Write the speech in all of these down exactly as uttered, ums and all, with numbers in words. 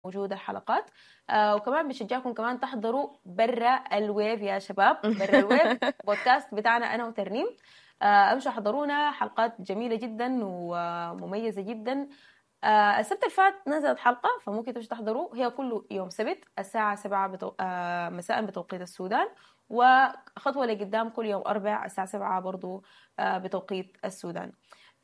موجودة الحلقات. آه وكمان بشجعكم كمان تحضروا برا ال wave يا شباب، برا ال wave بودكاست بتاعنا انا وترنيم. آه امشوا حضرونا، حلقات جميلة جدا ومميزة جدا. آه السبت الفات نزلت حلقة، فممكن تمشوا تحضروا، هي كل يوم سبت الساعة سبعة بتو... آه مساء بتوقيت السودان، وخطوة لقدام كل يوم أربع الساعة سبعة برضو آه بتوقيت السودان،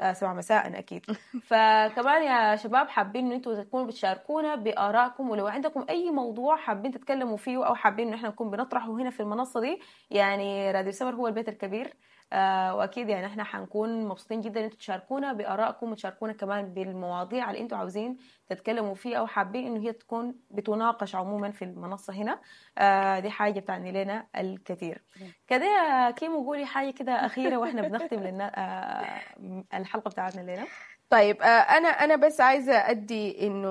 آه سبعة مساء أكيد. فكمان يا شباب حابين إن انتوا تكونوا بتشاركونا بآرائكم، ولو عندكم أي موضوع حابين تتكلموا فيه أو حابين إن احنا نكون بنطرحه هنا في المنصة دي، يعني راديو سمر هو البيت الكبير، آه واكيد يعني احنا حنكون مبسوطين جدا ان انتوا تشاركونا بارائكم وتشاركونا كمان بالمواضيع اللي انتوا عاوزين تتكلموا فيها او حابين انه هي تكون بتناقش عموما في المنصة هنا. آه دي حاجة بتعني لنا الكثير. كده يا كيمو قولي حاجة كده اخيرة واحنا بنختم لنا آه الحلقة بتاعتنا الليلة. طيب آه، انا انا بس عايزه ادي انه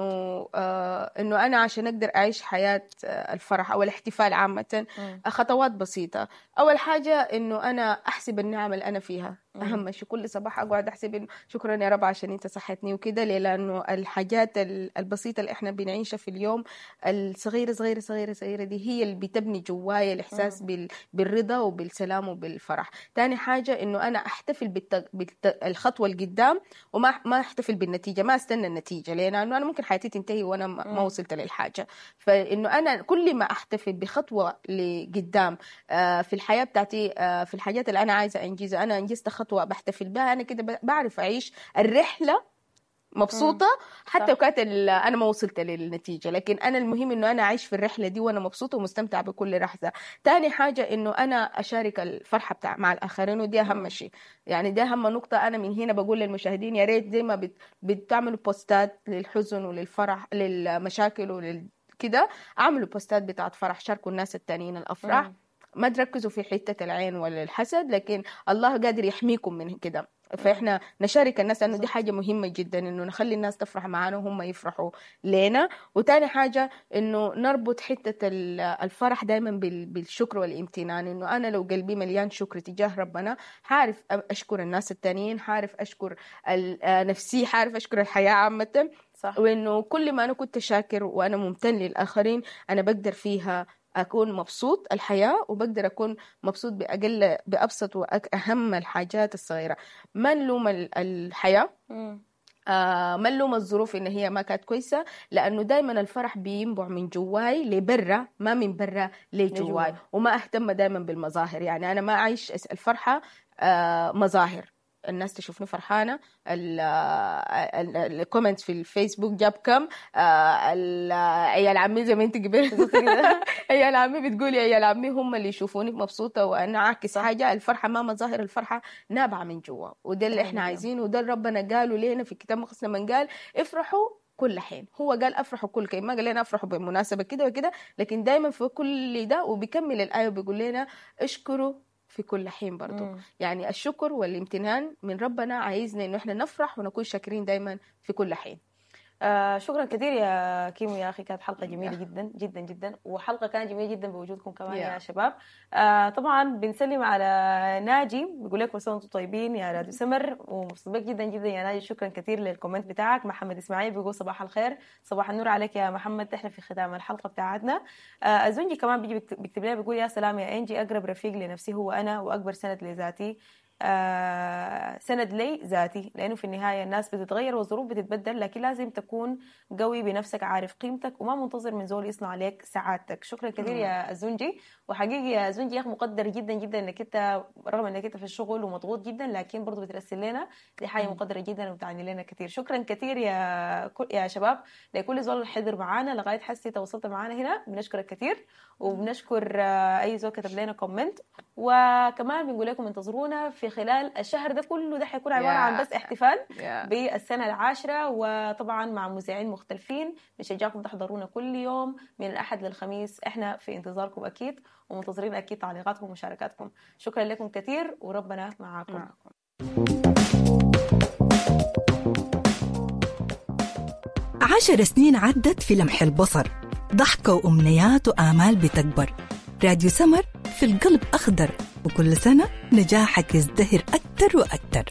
آه، انه انا عشان اقدر اعيش حياة آه، الفرح او الاحتفال عامة، خطوات بسيطة. اول حاجة انه انا احسب النعم اللي انا فيها، اهم شيء كل صباح اقعد احسب إنه شكرا يا رب عشان انت صحتني وكده. ليه؟ لانه الحاجات ال- البسيطة اللي احنا بنعيشها في اليوم، الصغيرة صغيرة صغيرة صغيرة دي، هي اللي بتبني جوايا الاحساس بال بالرضا وبالسلام وبالفرح. تاني حاجة انه انا احتفل بالت... بالت... الخطوة القدام وما ما احتفل بالنتيجة، ما استنى النتيجه، ليه؟ لانه انا ممكن حياتي تنتهي وانا ما ما وصلت للحاجة. فانه انا كل ما احتفل بخطوة لقدام آه، في الحياة بتاعتي، آه، في الحاجات اللي انا عايزه انجزها، انا انجزت خطوة بحتفل بها، انا كده بعرف اعيش الرحلة مبسوطة، حتى لو كانت ال- انا ما وصلت للنتيجة، لكن انا المهم انه انا اعيش في الرحلة دي وانا مبسوطة ومستمتعه بكل لحظة. تاني حاجة انه انا اشارك الفرحة بتاع مع الاخرين، ودي اهم شيء، يعني دي اهم نقطة. انا من هنا بقول للمشاهدين يا ريت زي ما بت... بتعملوا بوستات للحزن وللفرح للمشاكل ولل كده، اعملوا بوستات بتاعت فرح، شاركوا الناس التانيين الافراح. ما تركزوا في حتة العين ولا الحسد، لكن الله قادر يحميكم من كده. فإحنا نشارك الناس لأنه دي حاجة مهمة جدا، إنه نخلي الناس تفرح معانا وهم يفرحوا لنا. وتاني حاجة إنه نربط حتة ال- الفرح دايما بال- بالشكر والامتنان، إنه أنا لو قلبي مليان شكر تجاه ربنا حعرف أشكر الناس التانيين، حعرف أشكر ال- آه نفسي، حعرف أشكر الحياة عامة. صح. وإنه كل ما أنا كنت شاكر وأنا ممتن للآخرين أنا بقدر فيها أكون مبسوط الحياة، وبقدر أكون مبسوط بأقل بأبسط وأهم الحاجات الصغيرة. ما نلوم ال- الحياة، مم. آه ما نلوم الظروف إن هي ما كانت كويسة، لأنه دايما الفرح بينبع من جواي لبرا، ما من برا لجواي. لجوا. وما أهتم دايما بالمظاهر، يعني أنا ما أعيش الفرحة آه مظاهر، الناس تشوفني فرحانة، ال comment في الفيسبوك جاب كم، آه، ال- عيال عمي زي ما انت قبل بالظبط كده. عيال عمي بتقولي عيال عمي هم اللي يشوفوني مبسوطة وأنا أعكس صح. حاجة. الفرحة ما مظاهر، الفرحة نابعة من جوا، وده اللي احنا تمام. عايزينه، وده اللي ربنا قاله لنا في الكتاب المقدس لما قال افرحوا كل حين. هو قال افرحوا كل حين، ما قال لنا افرحوا بمناسبة كده وكده، لكن دايما في كل ده. وبيكمل الآية وبيقول لنا اشكروا في كل حين برضو. مم. يعني الشكر والامتنان من ربنا عايزنا انه احنا نفرح ونكون شاكرين دايما في كل حين. آه شكرا كثير يا كيمو يا اخي، كانت حلقة جميلة جدا جدا جدا، وحلقه كانت جميلة جدا بوجودكم كمان يا Yeah. شباب. آه طبعا بنسلم على ناجي، بيقول لك كل سنة وانتم طيبين يا راديو سمر، ومبسوط بك جدا جدا يا ناجي، شكرا كثير لل comment بتاعك. محمد اسماعيل بيقول صباح الخير، صباح النور عليك يا محمد، احنا في ختام الحلقة بتاعتنا. آه الزنجي كمان بيجي بيكتب بيكتب لنا بيقول يا سلام يا انجي، اقرب رفيق لنفسي هو انا، واكبر سند لذاتي، آه، سند لي ذاتي، لانه في النهاية الناس بتتغير والظروف بتتبدل، لكن لازم تكون قوي بنفسك، عارف قيمتك، وما منتظر من زول يصنع لك سعادتك. شكرا كثير يا الزنجي، وحقيقي يا زنجي يا اخي مقدر جدا جدا انك انت رغم انك انت في الشغل ومضغوط جدا، لكن برضه بترسل لنا، دي حاجة مقدره جدا وبتعني لنا كثير. شكرا كثير يا كل يا شباب لكل زول حضر معانا لغاية حسي تواصلت معانا هنا، بنشكرك كثير، وبنشكر آه، اي زول كتب لنا comment، وكمان بنقول لكم انتظرونا في خلال الشهر ده كله، ده حيكون عبارة عن Yeah. بس احتفال Yeah. بالسنة العاشرة، وطبعا مع مذيعين مختلفين. بنشجعكم تحضرونا كل يوم من الأحد للخميس، احنا في انتظاركم أكيد، ومنتظرين أكيد تعليقاتكم ومشاركاتكم. شكرا لكم كثير، وربنا معاكم. معكم. عشر سنين عدت في لمح البصر، ضحكة وأمنيات وآمال بتكبر. راديو سمر في القلب أخضر، وكل سنة نجاحك يزدهر أكتر وأكتر.